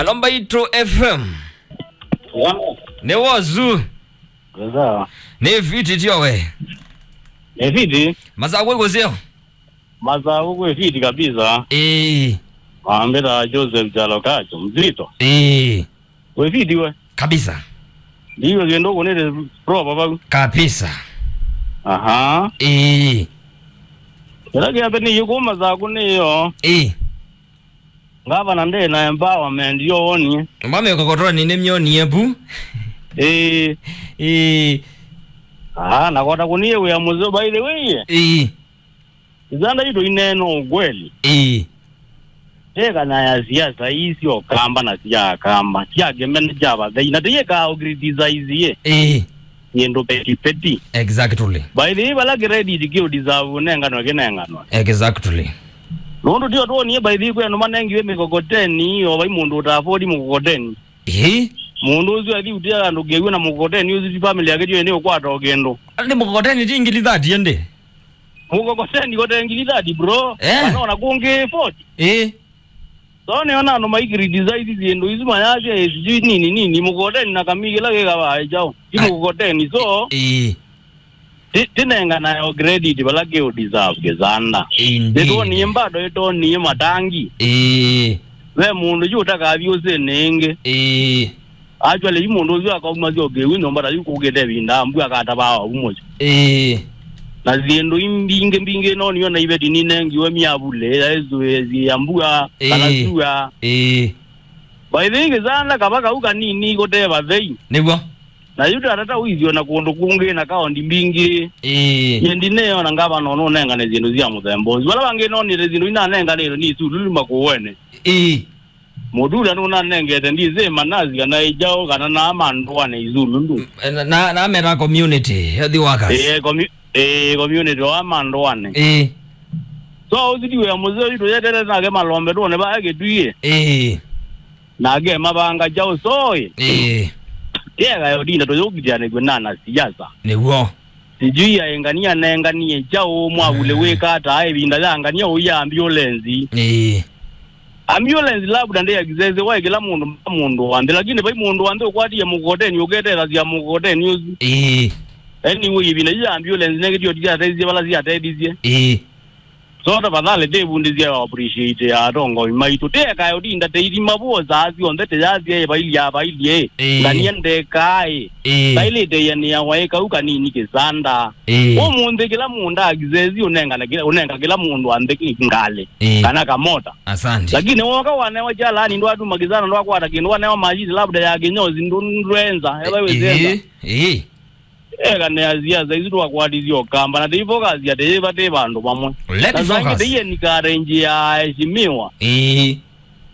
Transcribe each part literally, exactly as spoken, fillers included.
Alo Mbaitũ F M. Nĩ wozu. Sawa. Nĩ fiti tio we. Nĩ fiti. Masaku ĩkũseo. Masaku kwĩ fiti kabisa. Ĩĩ. Wambĩta Joseph Jalokacho, mzito. Ĩĩ. Wĩ fiti we. Kabisa. Ndiyo kĩndũ kũnĩte proper vau. Kabisa. Aha. Ĩĩ. Kĩla kĩambe nĩ yĩkũ Masaku nĩyo. Ĩĩ. Ngavana ndĩ na empowerment yo wonie. Mame kokotoni nĩ myonie pu. Ĩĩ. Ĩĩ. Ah, nakota kũnie wĩa mũzeo by the way. Ĩĩ. Isanda itũ ineena ũkweli. Ĩĩ. Ĩkana ya siasa ii syo kamba na sya kamba, sya kĩmene kya vathei, na tĩyĩkaa ũcriticize ĩ. Ĩĩ. Kĩndũ petipeti. Exactly. By the way, vala credit kĩũdeserve ũnenganwe kĩnenganwe. Exactly. Nũndũ tio twonie by the way kwĩ andũ manengiwe mĩkokoteni, o vai mũndũ ũta afford mũkokoteni. Ĩĩ. Mũndũ ũsu athi ũtia andũ kĩw'ũ na mũkokoteni ũsu ti family yake tio nĩ ũkwata o kĩndũ. Nĩ mũkokoteni ti ngili thirty ende. Mũkokoteni kote ngili thirty, bro. Eh. Kana ona kũngĩ forty. Eh. So nĩona andũ maikiri design syĩndũ isu mayasya, eh, sijui nini nini, mũkokoteni na kamii kĩla kĩkavaa kyaũ. Ti mũkokoteni, so, eh, ti-, tinenganayo credit vala kĩũ deserve kĩsanda. Indeed. Nĩtwonie mbado ĩtonie matangi. Eh. Ve mũndũ yu ũtakathi ũsĩnĩ ĩngĩ. Eh. Actually, yu mũndũ ũsu akaumasya ũkĩw'ũ nyũmba ta yu kũkĩte ĩvinda, mbu akatavaa ũu mũsyĩ. Ĩĩ. Na syĩndũ imbingĩ mbingĩ no nĩona iveti ninengiwe myavulĩ, ya ĩsu ya mbua, kana ĩĩ, sua. Ĩĩ. By the way, kĩsanda kava kau kanini kũte vathei. Nĩw'o. Na yu tatata ũithio na kũndũ kũngĩ na kaondi mbingĩ. Ĩĩ. Yĩndi nĩyo na ngavana nũnengane syĩndũ sya mũthemba ũsu. Vala vangĩ nonete syĩndũ inanenganĩtwe nĩ isululu makũũene. Ĩĩ. Mũtula nũnanengete ndisĩ manasi kana ĩjaũ kana na mandũane isululu. Na, na, na meta community health workers. Eh, commu-, eh, community wa mandũane. Eh. So, ũsu ti wĩa mũseo yu tũyetete nake malombe tuone vaa kĩtwie. Eh. Nake mavanga jaũ soĩ. Eh. Kĩega yo dinda tũyũkitianĩkw'e na na siasa. Nĩw'o. Sijui aĩ ngania nenganie kyaũ, mwavulĩ wĩka ata ĩvinda ya ngania ũya ambulenzi. Ĩĩ. Ambulenzi labda ndĩ access waĩ kĩla mũndũ, mũndũ wa nthĩ, lakini vai mũndũ wa nthĩ ũkwatie mũkokoteni ũketethasya mũkokoteni ũsu. Ĩĩ. Anyway, ĩvinda yu ya ambulenzi nekĩtio ti syatethisye vala syatethisye. Ĩĩ. So tafadhali tĩvundĩsye appreciate ya atongoi maitũ. Tĩekae ũtinda tĩithima vuo saa syonthe tĩyasya ĩ vailyĩ, vailyĩ. Ĩĩ. Ngania ndekae. Ĩĩ. Tailĩte ĩanĩa waĩ kau kanini kĩsanda. Ĩĩ. Ũmũnthĩ kĩla mũndũ akisesi ũnengane kĩla, ũnenga kĩla mũndũ wa nthĩ ngalĩ. Ĩĩ. Kana kamota. Asante. Lakini woka wanewa kyalani ndwatuma kĩsanda ndwakwata kĩndũ wanewa mashini labda ya kĩnyozi ndũ-, ndwenza. Ĩĩ. Ĩĩ. Eka nĩ asiasa isu twakwatithye ũkamba na tĩifokasi atĩ yĩva tĩ vandũ vamwe. Let me na sangĩ focus. Tĩiye nikarenji ya heshimiwa. Ĩĩ.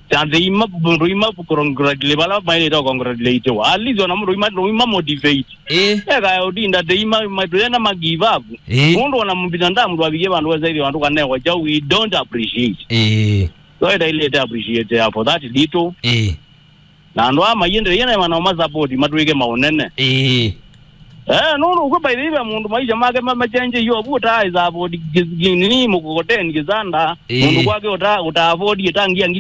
Kya nthĩ ima, mũndũ ima congratulate vala maĩlĩte congratulate wa. At least ona mũndũ ima, mũndũ ima motivate. Ĩĩ. Eka ũtinda tĩ ima, ima, tũyenda ma give up. Ĩĩ. Mũndũ ona mbinadamu ndwavikie vandũ wesa ithĩ vandũ kanewa kyaũ, we don't appreciate. Ĩĩ. So ĩtailĩte appreciate ya for that little. Ĩĩ. Na andũ aa maiendeea na manao ma support matwĩke maũnene. Ĩĩ. Eh, nũndũ ũkw'o by the way mũndũ maisha make ma-, machenje yo vu ta support nini mũkokoteni kĩsanda. Ĩĩ. Mũndũ kwake ũta, ũta afford ĩtangi ya ngili